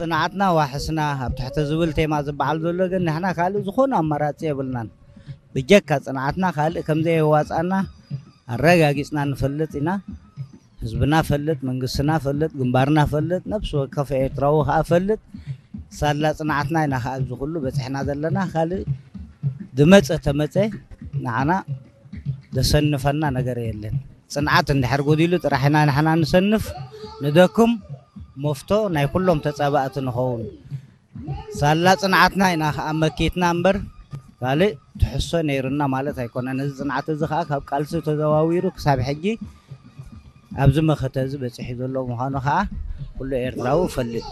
ጽንዓትና ዋሕስና ኣብ ትሕቲ ዝብል ቴማ ዝበዓል ዘሎ ግን ንሕና ካልእ ዝኾነ ኣማራጺ የብልናን። ብጀካ ጽንዓትና ካልእ ከም ዘየዋጻና ኣረጋጊጽና ንፈልጥ ኢና። ህዝብና ፈልጥ፣ መንግስትና ፈልጥ፣ ግንባርና ፈልጥ፣ ነፍሲ ወከፍ ኤርትራዊ ከኣ ፈልጥ። ሳላ ጽንዓትና ኢና ከኣ ኣብዚ ኩሉ በጺሕና ዘለና። ካልእ ዝመጸ ተመጸ ንዓና ዘሰንፈና ነገር የለን። ጽንዓት እንድሕር ጎዲሉ ጥራሕ ኢና ንሕና ንሰንፍ፣ ንደክም፣ መፍቶ ናይ ኩሎም ተጻባእቲ ንኸውን። ሳላ ጽንዓትና ኢና ከኣ መኪትና እምበር ካልእ ትሕሶ ነይሩና ማለት ኣይኮነን። እዚ ጽንዓት እዚ ከኣ ካብ ቃልሲ ተዘዋዊሩ ክሳብ ሕጂ ኣብዚ መኸተ እዚ በጺሑ ዘሎ ምዃኑ ከኣ ኩሉ ኤርትራዊ ይፈልጥ።